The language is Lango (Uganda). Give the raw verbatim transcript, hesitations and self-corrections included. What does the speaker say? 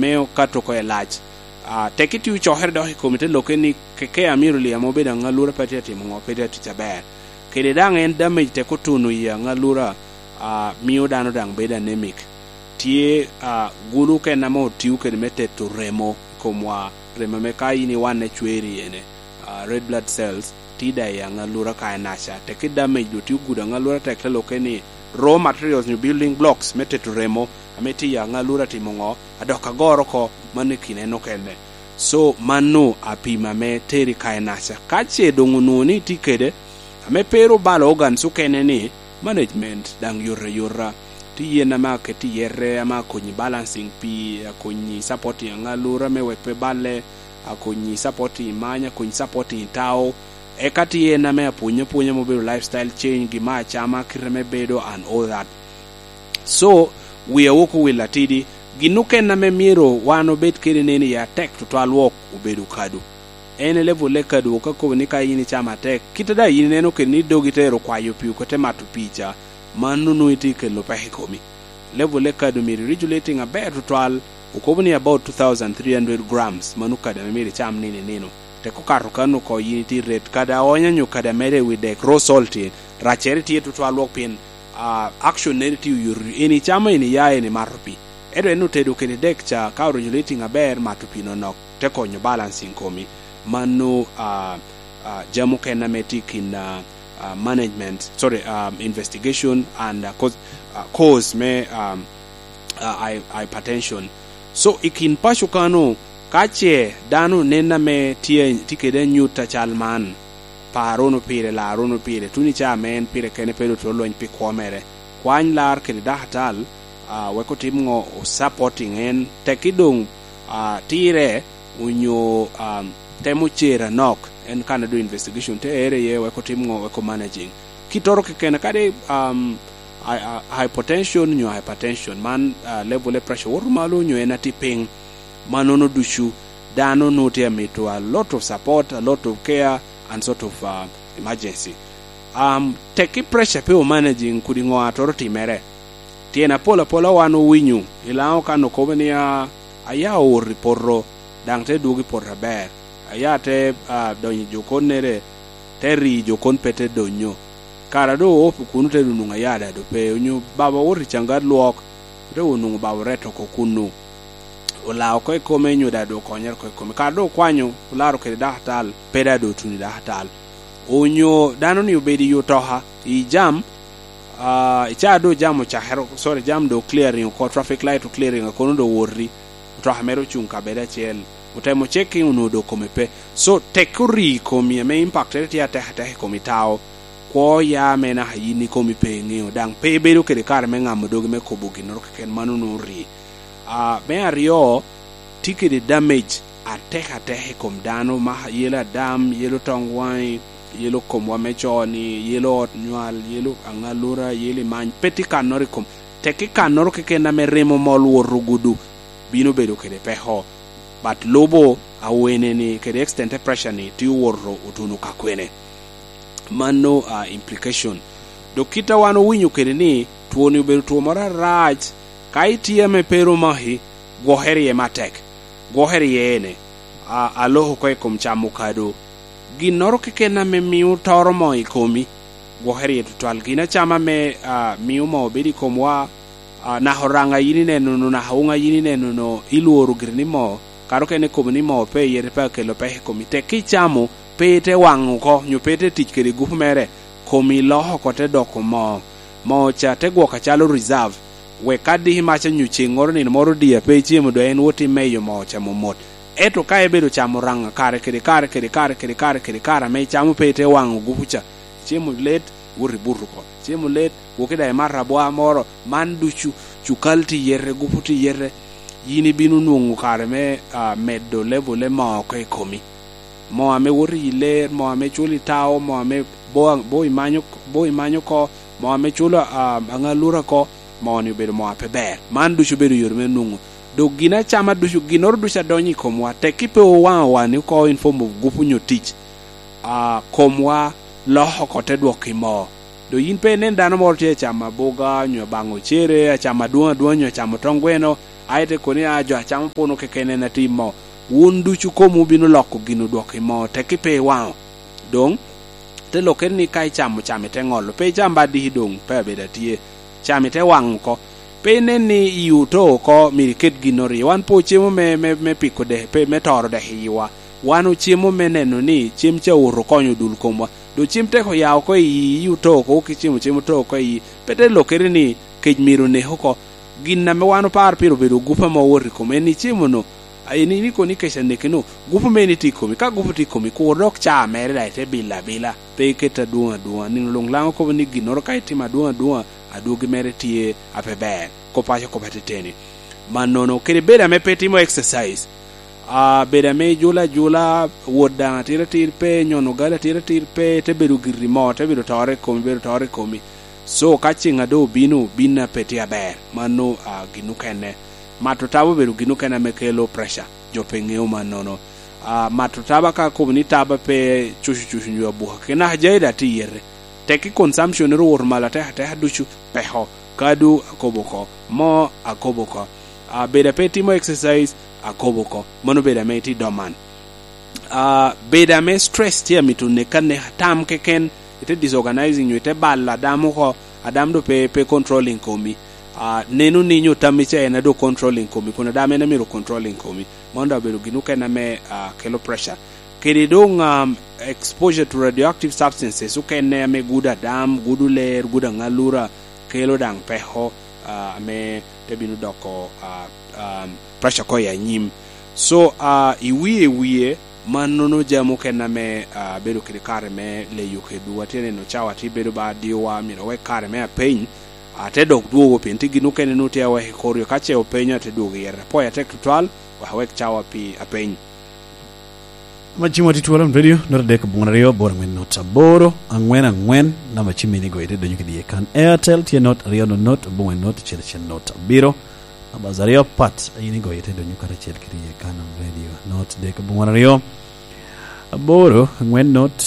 me okato oko i lac. Ah, tek itio cokere dok i kom ite lokke ni keke a myero li ame obedo aŋalura pe tye atimo ŋo, pe tye atic aber. Kede daŋ en damage tek otuno i aŋalura, ah, mio dano daŋ bedo anemic. Tye, ah, gulu okene ame otio kede me teto remo i komwa, remo ame ka in iwanne cweri ene, ah, red blood cells, tye daŋ i aŋalura ka enaca. Tek i damage dok tye ogudo aŋalura tek te lokke ni raw materials nyo building blocks me teto remo ame tye i aŋalura timo ŋo, adok agoro oko, mano i kin en okene. So, mano apima me teri ka enaca. Ka ce doŋ onwoŋo ni itye kede, ame pe ru balo organs okene ni, management daŋ yot ayota. Tye yen ame aket i yete, ame akonyi balancing pii, akonyi supporting aŋalura me wek pe balle, akonyi supporting many, akonyi supporting tao. Eka tye en ame apwonyo apwonya ma obedo lifestyle change, gin me acama, kite me bedo and all that. So, wia wok owil atidi, gin okene ame myero wan obed kede neni ya tek tutwal wok obedo kado. En e level e kado, ka kobo ni ka in icamo atek, kite daŋ in ineno kede ni dogi te ero kwayo pii, oko te mato pii ca, mano nwoŋo itye kelo peko i komi. Level e kado myero regulating aber tutwal, okobo ni about two thousand three hundred grams, mano kado ame myero icam nino i nino. Tek okato kan oko, yin itye ret, kado aonya nyo kado amede i wi dek, raw salt in, raccere tye tutwal wok pien, ah, action neri tye oyot, en icamo, en iya, en imato pii. Ento en otedo kede dek ca, ka regulating aber, mato pii nonok, te konyo balancing komi. Mano, ah, ah, jami okene ame tye i kin, ah, ah, management, sorry, ah, investigation and, ah, cause, ah, cause me, ah, ah, hy-, hypertension. So, i kin paco kano, ka ce dano nen ame tye, tye kede anyut acal man, par wunu pire, lar wunu pire, tuno i caa ame en pire kene pe doŋ twero lweny pi kwo mere. Kwany lar kede dakatal, ah, wek otim ŋo, o supporting en. Tekki doŋ, ah, tirre, onyo, um, temo cer anok, en kan a doŋ investigation te ere iye, wek otim ŋo, wek o managing. Kittoro kekene, kadi, um, hy-, hy-, hypotension nyo hypertension, man, ah, level of pressure woto malo nyo en atye piny, mannono ducu dano nwoŋo tye amito a lot of support, a lot of care, and sort of, ah, emergency. Um, tekki pressure pe o managing, kodi ŋo atoro timere. Tyen apol apola wan owinyo i Laŋo kan okobo ni, a, aya owoto i poto, daŋ te dwogo i poto aber. Aya te, a, donyo i jokonnere, te ri jokon pe te donyo. Kara doŋ opo kuno te onwoŋo aya daŋ doŋ pe, onyo baba owoto i caŋgat lwok, te onwoŋo baba oreto oko kuno. Olao oko i kome, nyo daŋ doŋ okonyere oko i kome. Kara doŋ okwanyo, olaro kede dakatal, pe daŋ doŋ otuno i dakatal. Onyo dano ni obedo i otoka, i jam, ah, i caa doŋ jam ocakere, sorry, jam doŋ clearing oko, traffic light o clearing oko, kono doŋ owoti, otoka mere ocuŋ kabedo acel, otemo checking, onwoŋo doŋ kome pe. So, tek ori i komi ame impactere tye atek atek i komi tao, kwo ya ame naka yin ikomi pe iŋeo, daŋ pe ibedo kede kare me ŋamo dogi me kobo ginnoro keken, mano nwoŋo ori. Ah, me aryo, tye kede damage atek atek i kom dano, ma yelo adam, yelo toŋ waŋi, yelo komwa me co-ni, yelo ot nywal, yelo aŋalura, yelo imany, pe tye kannoro i kom. Tekki kannoro keken ame remo mol woto gudo, bino bedo kede peko. But lubo awene-ni kede extent of pressure-ni tye owoto otuno ka kwene. Mano, ah, implication. Dok kit a wan owinyo kede ni, twoni obedo two moro arac, ka itye ame pe rom maki, gwokere iye matek. Gwokere iye ene, a, aloko oko i kom camo kado. Ginnoro keken ame mio toro moo i komi, gwokere iye tutwal. Gin acama ame, a, mio moo bedo i komwa, a, naka oraŋa yin ineno no, naka wuŋa yin ineno no, ilworo giri ni moo, kara okene ikobo ni moo pe iye, pe akelo peko i komi. Tek ka icamo, pe ite waŋo oko, nyo pe ite tic kede gupu mere, komi loko oko te doko moo. Moo ca te gwoko acalo reserve, wek ka diki mac anyo ceŋŋoro nino moro odii a pe icemo, doŋ en wot imeyo moo ca momot. Ento ka ibedo camo raŋa kare kede kare kede kare kede kare kede kare ame icamo pe ite waŋo gupu ca, icemo let, wot ibuto oko. Icemo let, woki daŋ imato abwa moro, man ducu, cukal tye iyete, gupu tye iyete, yin ibino nwoŋo kare me, ah, medo level me moo oko i komi. Moo ame woto i ler, moo ame culo i tao, moo ame bo, bo imanyo, bo imanyo oko, moo ame culo, ah, aŋalura oko, moo-ni obedo moo a pe ber. Man ducu obedo yore me nwoŋo. Dok gin acama ducu, ginnoro ducu a donyo i komwa, tekki pe owaŋo wani oko in form of gupu nyo tic, ah, komwa loko oko te dwoko i moo. Dok yin pe inen dano moro tye acamo aboga, nyo abaŋo ocere, acamo adwoŋ adwoŋ, nyo acamo tong gweno, Aye te kono ni, "A, jo a camo puno keken en atim moo." Wun ducu komwu bino loko gin odwoko i moo, tekki pe iwaŋo. Doŋ, te lokkere ni ka icamo, cam ite ŋolo. Pe icam ba diki doŋ, pe abedo atye. Cam ite waŋ oko. Pe inen ni iyi oto oko, myero iket ginnoro iye. Wan pe ocemo me, me, me piko dek, pe, me toro dek iyiwa. Wan ocemo me neno ni cem ca owoto okonyo dul komwa. Doŋ cem tek oya oko i iyi, iyi oto oko, ki cemo, cem oto oko i iyi. Pe te lokkere ni kec myero onek oko. Gin ame wan oparo pire obedo gup ame owoto i kome, en icemo-nu, a, en, en ikoni kec aneke-nu, gup mere ni tye i komi. Ka gup tye i komi, kur dok caa mere daŋ ite bilo abila, pe iket adwoŋ adwoŋa. Nino luŋ Laŋo kobo ni ginnoro ka itimo adwoŋ adwoŋa, adwogi mere tye a pe ber. Kop paco kop ateteni. Mannono, kede bedo ame pe itimo exercise, a, bedo ame ijulo ajula, wot daŋ atir atir pe, nyono gali atir atir pe, te bedo giri moo, te bedo tore i komi, bedo tore i komi. So, ka ceŋ a doŋ obino, bin a pe tye aber, mano, a, gin okene. Mato taba obedo gin okene ame kelo pressure, jo pe ŋeo mannono. A, mato taba ka akobo ni taba pe cucu cucu nyo abuka, kena ajayi daŋ tye i yete. Tekki consumption-nere owoto malo ateka ateka ducu, peko, kadu akobo oko, moo akobo oko. A, bedo a pe itimo exercise, akobo oko. Mano bedo ame itye i doman. A, bedo ame stress tye amito neki aneka, tam keken, ite disorganizing nyo ite balo adam oko, adam do pe, pe controlling komi. A, neno ni nyo tammi ca en a do controlling komi, kun adam en a myero controlling komi. Mano daŋ obedo gin okene ame, a, kelo pressure. Kede doŋ, um, exposure to radioactive substances okene ame gudo adam, gudo ler, gudo aŋalura, kelo daŋ peko, a, ame te bino doko, a, um, pressure ko i anyim. So, a, i wie, i wie, mannono jami okene ame, a, bedo kede kare me leyo kedwu. Atye neno cawa tye bedo ba diowa, myero awek kare me apeny, a, te dok dwogo, pien tye gin okene nwoŋo tye awek i kor yo. Ka ce openyo, ate dwogo i yere. Apwoyo atek tutwal, wek awek cawa pi apeny. Macimo tye twolo radio, nota dek aboŋo aryo, aboro angwen nota aboro, angwen angwen, namba cim mini goyo ite donyo kede iye kan. Airtel tye not aryo not not, aboŋo not acel acel not abiro. Namba aryo pat, a yin igoyo ite donyo karacel kede iye kan radio, not dek aboŋo aryo, aboro angwen not